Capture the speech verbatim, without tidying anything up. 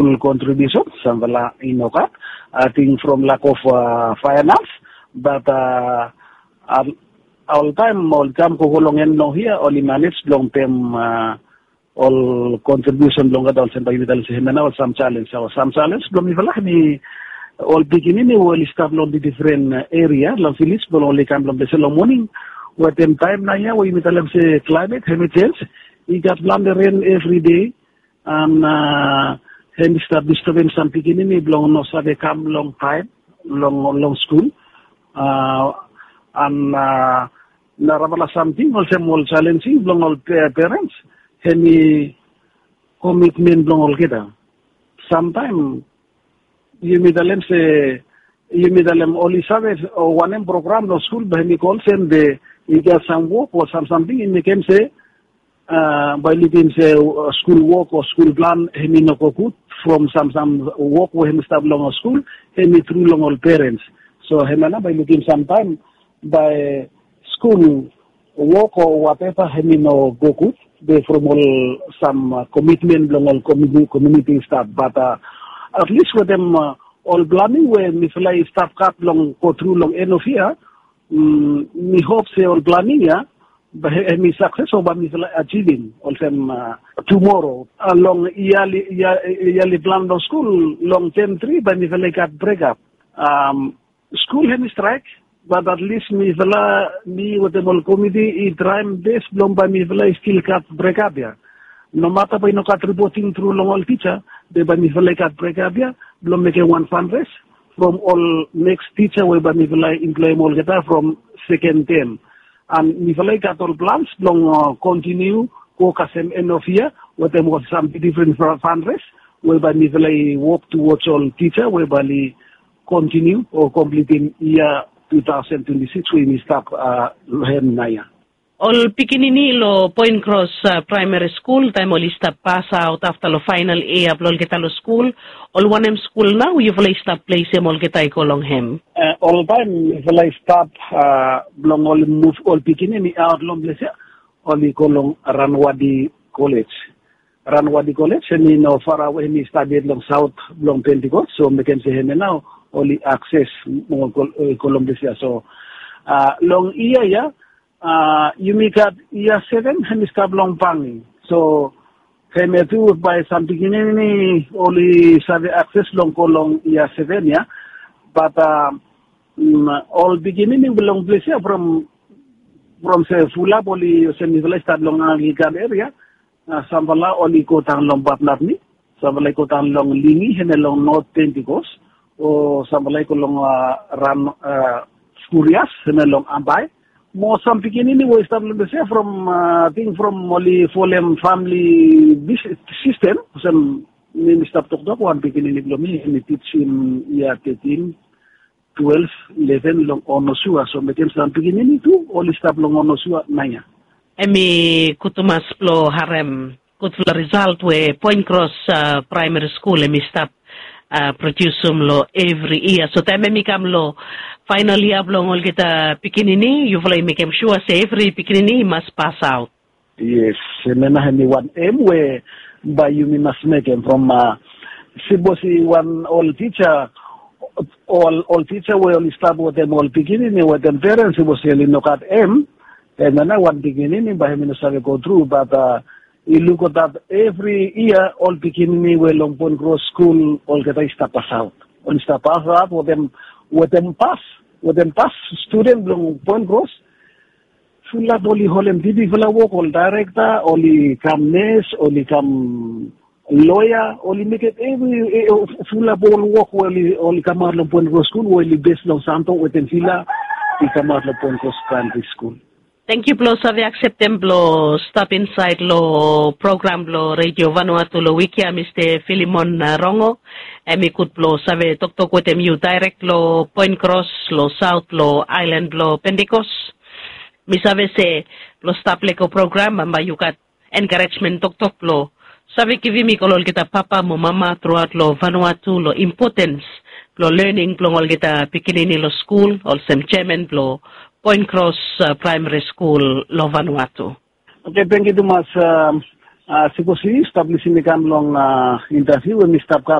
Ol kontribiusen samfala i no gat, ating from lak of faenans, bat oltaem ol kam gogo long en long hia oli manej blong pem ol kontribiusen blong olgeta olsem bae yumi talem se hemia nao ol sam jalens o sam jalens blong mifala hemi ol pikinini we oli stap long difren eria long viles blong oli kam long ples ya long moning, wetem taem nao ya we yumi talem se klaemet hemi jens, i gat plante ren evri dei. An hemi stap distebem sam pikinini blong no save kam long taem long skul. An narafala samting olsem ol jalenjing blong ol perens, hemi komitmen blong olgeta. Samtaem yumi talem se yumi talem oli save wanem program long skul bae hemi go olsem be i gat sam wok o sam samting i mekem se bae i lukim se skul wok o skul plan hemi no go gud from sam sam wok we hemi stap long skul, hemi tru long ol perens. So hemia nao bae i lukim samtaem bae skul wok o wateva hemi no go gud be from ol sam komitmen blong ol kominiti i stap bat atlis wetem ol planing we mifala i stap gat blong go tru long en of yia, mi hop se ol planing ya hemi sakses o bae mifala ajivim olsem tumoro long yali plan blong skul long tem tri bae mifala i gat brekap. Skul hemi straek bat atlis mifala mi wetem ol komiti i traem bes blong bae mifala i stil gat brekap ya. Nomata bae i no gat ripoting tru long ol tija, be bae mifala i gat brekap ya blong mekem wan fanres from ol neks tija we bae mifala i emploem olgeta from seken tem. An mifala i gat ol plans blong kontiniu go kasem en of yia wetem ol sam difren fanres we bae mifala i wok tuwoj ol tija we bae oli kontiniu o komplitim yia tu taosen twenti sikis we yumi stap long hem nao ya. Ol pikinini long Poen Kros Praemari Skul taem oli stap pasaot afta long faenal yia blong olgeta long skul, ol wanem skul nao yufala i stap plesem olgeta i go long hem? Oltaem mifala i stap blong oli muv ol pikinini aot long ples ya, oli go long Ranwadi Kolej. Ranwadi Kolej hemi no farawe, hemi stap yet long saot blong Pentikos, so mekem se hemia nao oli akses mo go long ples ya. So long yia ya yumi gat yia seven hemi stap long Bangi. So hemia tu bae sam pikinini oli save akses long go long yia seven ya. Bat ol pikinini blong ples ya from se fulap oli olsem mifala i stat long Anglikan eria, samfala oli go daon long Batnapni, samfala i go daon long Lingi hemia long Not Pentikos, o samfala i go long Ran Skurias hemia long Ambae. Mo sam pikinini we i stap long ples ya from ating from oli folem famili sistem olsem mi mi stap toktok wan pikinini blong mi hemi tijim yia tetin, twelef, ileven long Onosua, so mekem sam pikinini tu oli stap long Onosua nao ya. Hemi gud tumas blong harem gudfala risalt we Poen Kros Praemari Skul hemi stap prodiusum long evri yia. So taem hemi kam long faenal yia blong olgeta pikinini yufala i mekem sua se evri pikinini i mas pasaot. Yes, hemia nao hemi wan em we bae yumi mas mekem from sipos i wan ol tija, ol tija we oli stap wetem ol pikinini wetem perens, sipos oli no gat em, hemia nao wan pikinini bae hemi no save go tru. Bat i luk dat evri yia ol pikinini we long Poen Kros Skul olgeta i stap pasaot. Oli stap pasaot wetem pas, wetem pas studen blong Poen Kros. Fulap oli holem dipifala wok, ol daerekta, oli kam nes, oli kam loea, oli mekem evri fulap ol wok we oli kamaot long Poen Kros Skul we oli bes long Santo wetem fila i kamaot long Poen Kros Praemari Skul. Tangkiu blong save akseptem blong stap insaed long program blong Redio Vanuatu long wik ya, Mista Filimon Rongo. Hemi gud blong save toktok wetem yu daerek long Poen Kros long saot long aelan blong Pentikos. Mi save se blong stap lego program bambae yu gat enkarejmen toktok blong save givim i go long olgeta papa mo mama truaot long Vanuatu long impotens blong lening blong olgeta pikinini long skul olsem jeaman blong Poen Kros Praemari Skul long Vanuatu. Oke, tangkiu tumas. Sipos yu stap lisin i kam long intaviu we mi stap